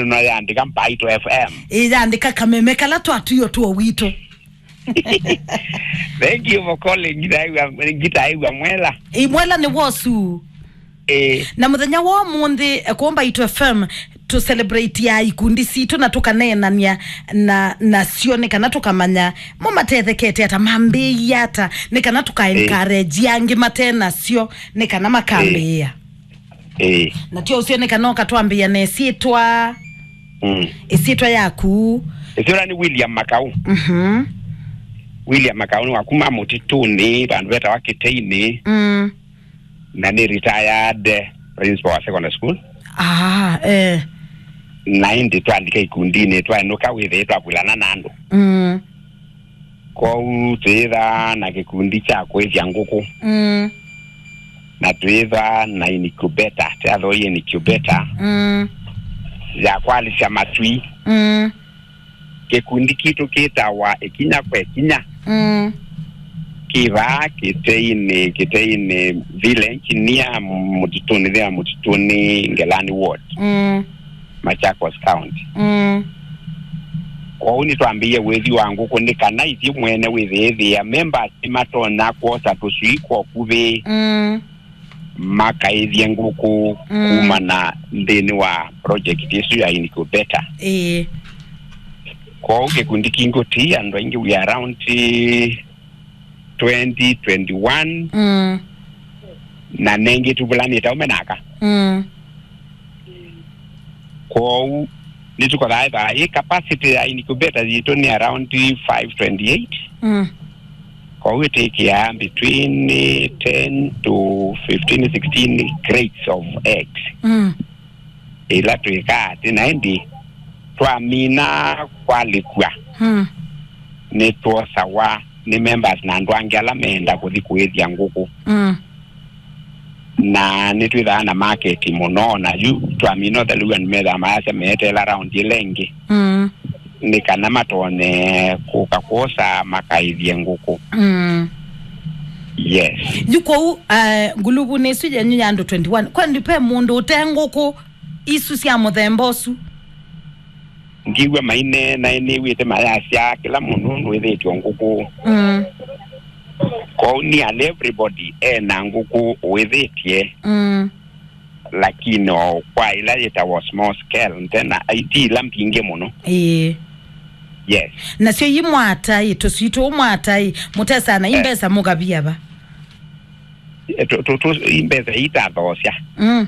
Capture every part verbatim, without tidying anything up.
no yandĩka Mbaitũ F M. Ĩyandĩka kameme kala twatuio tuo witũ. Thank you for calling. Ngitaĩw'a, ngitaĩw'a mwela. Ĩ, mwela nĩ wosu. Ĩ. Na mũthenya wa ũmũnthĩ, eh, kũũ Mbaitũ F M, tũ celebrate ya ikundi sitũ na tũkaneenania na, nasyo nĩ kana tũkamanya mo matethekete ata, mambĩĩie ata, nĩ kana tũka Ĩ. encourage angĩ mate nasyo nĩ kana makambĩĩa. Ĩ. Na tyo ũsio nĩ kana ũkatwambĩĩa na ĩsyĩtwa. Mm. Ĩsyĩtwa yaku. Ĩsyĩtwa nĩ William Makau. Mhm. William Makau nĩ wa kuma Mũtitũnĩ, vandũ vetawa Kĩteinĩ. Mm. Na nĩ retired principal wa secondary school. Ah, eh. Na ĩndĩ twalika ikundinĩ, twaenũka wĩthĩe twavulana na andũ. Mm. Kwoou twĩthaa na kĩkundi kya kũĩthya ngũkũ. Mm. Na twĩthaa na incubator, tyathoi incubator Mm. ya kwalĩsya matwii. Mm. Kĩkundi kitũ kĩtawa Ĩkinya kwa Ĩkinya. Mm. Kĩ vaa Kĩteinĩ, Kĩteinĩ village, near Mũtitũnĩ, there Mũtitũnĩ, Ngelani Ward. Mm. Machakos County. Mm. Kwoou nĩtwambĩie wĩthi wa ngũkũ nĩ kana ithyĩ mwene wĩthĩĩthĩa members nĩmatonya kwosa tũswii kwa ũkuvĩ Mm. makaĩthye ngũkũ Mm. kumana nthĩnĩ wa project ĩsu ya incubator. Ĩĩ. Kwoou kĩkundi kingĩ ti andũ aingĩ, we are around twenty, twenty-one, Mm. na nengĩ tũvulanĩte aume naka. Mm. Kwoou nĩtũkothaa ĩthaa ĩ capacity ya incubator yitũ nĩ around five twenty-eight. Mm. Kwoou ĩtĩkĩaa between ten to fifteen, sixteen crates of eggs. Mm. Ĩla twĩkaa atĩ na ĩndĩ twamina kwalĩkw'a, Mm. nĩtwosawa nĩ members na andũ angĩ ala meenda kũthi kũĩthya ngũkũ. Mm. Na nĩtwĩthaa na market mũno, na yu twamina ũthelu andũ methaa mayasya meeteela round ĩla ĩngĩ. Mm. Nĩ kana matonye kũka kwosa makaĩthye ngũkũ. Mm. Yes. Yu kwoou, uh, nguluvu nĩ ĩsu yenyu ya andũ twenty-one. Kwani ve mũndũ ũte ngũkũ isu sya mũthemba ũsu? Ndiw'a maineena, nĩw'ĩte mayasya kĩla mũndũ nũndũ wĩthĩtwe ngũkũ. Mm. Kwoou nearly everybody ena ngũkũ ũĩthĩtye. Mm. Lakini o kwa ila yĩtawa small scale, nte na, ai, ti ila mbingĩ mũno. Ĩĩ. Yes. Nasyo imwata ĩ, tũswii tũu mwata ĩ, mũtesana i Eh. mbesa mũkavia va? Eh, tũ- tũ- tũ- i mbesa itathoosya. Mm.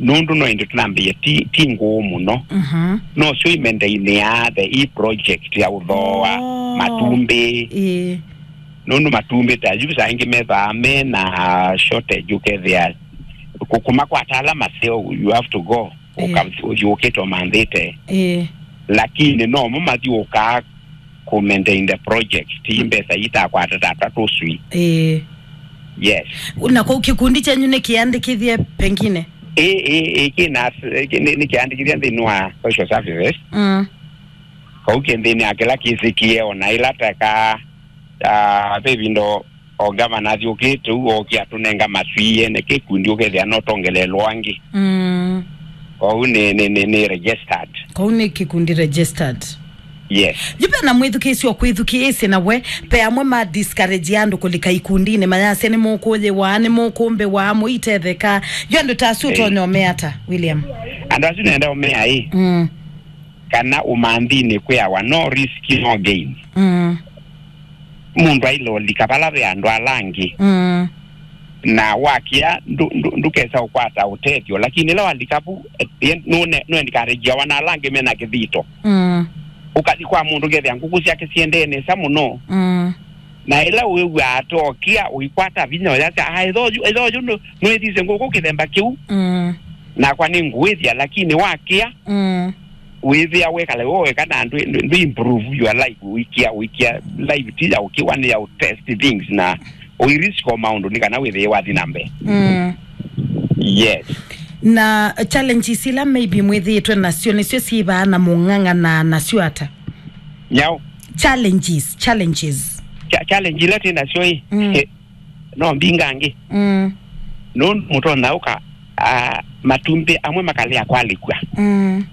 Nũndũ no ĩndĩ tũnambĩie ti, ti ngũũ mũno. Mhm. No syo imendainĩaa the i project ya ũthooa Oh. matumbĩ. Ĩĩ. Nũndũ matumbĩ ta yu saa ingĩ methaa me na shortage, ũkethĩa kũ- kũmakwata ala maseo, you have to go. Ĩĩ. Ũka- ũthiũkĩte ũmanthĩte. Ĩĩ. Lakini no mo mathiũkaa kũ maintain the project, ti mbesa itakwata tata tũswii. Ĩĩ. Yes. Na kũu kĩkundi kyenyu nĩ kĩandĩkĩthye pengine? Ĩĩ, ĩĩ, ĩĩ, kĩna- kĩ- nĩ- nĩ kĩandĩkĩthye nthĩnĩ wa social services. Mm. Kau kĩ nthĩnĩ ya kĩla kĩsĩkie ona ĩla teka, ah, ve vindo o gavana athiũkĩte ũu, okie atũnenga maswii ene kĩkundi, ũkethĩa no tongeleelwa angĩ. Mm. Kwoou nĩ, nĩ, nĩ, nĩ registered. Kwoou nĩ kĩkundi registered. Yes. Yu ve na mwĩthukĩĩsya ũkwĩthukĩĩsya na we, ve amwe ma discourage andũ kũlika ikundinĩ, mayasya nĩ mũkũyĩwa, nĩ mũkũmbĩwa, mũitetheka. Yu andũ ta asu Eh. ũtonya ũmea ata, William? Andũ asu nenda ũmea ĩ. Mm. Kana ũmanthinĩ kwĩawa no risk, no gain. Mm. Mũndũ ailolika vala ve andũ ala angĩ. Mm. Na wakĩa ndũ- ndũ- ndũkesa ũkwata ũtethyo, lakini ĩla walika vu, eh, nũne- nũencourageawa na ala angĩ mena kĩthito. Mm. Ũkathi kwa mũndũ ũkethĩa ngũkũ syake siendee nesa mũno. Mm. Na ĩla wĩw'aa atokĩa ũikwata vinya ũyasya, "Ah, ĩthoyu, ĩthoyu nũ- nũĩthisye ngũkũ kĩthemba kĩu." Mm. Nakwa nĩ ngũĩthya, lakini wakĩa Mm. wĩthĩa wekala we weka na ndũ- ndũ- ndũ improve your life, ũikia- ũikia life ti ya ũkĩwa, nĩ ya ũtest things na ũirisk o maũndũ nĩ kana wĩthĩe wathi na mbee. Mm. Yes. Na challenges ila maybe mwĩthĩĩtwe nasyo nĩsyo syĩvaa na mũng'ang'ana nasyo ata? Nyau. Challenges, challenges. Cha- challenge ila twĩ nasyo ĩ, Mm. eh, no mbingangĩ. Mm. Nũndũ mũtonya ũka, ah, matumbĩ amwe makalea kwalĩkw'a. Mm.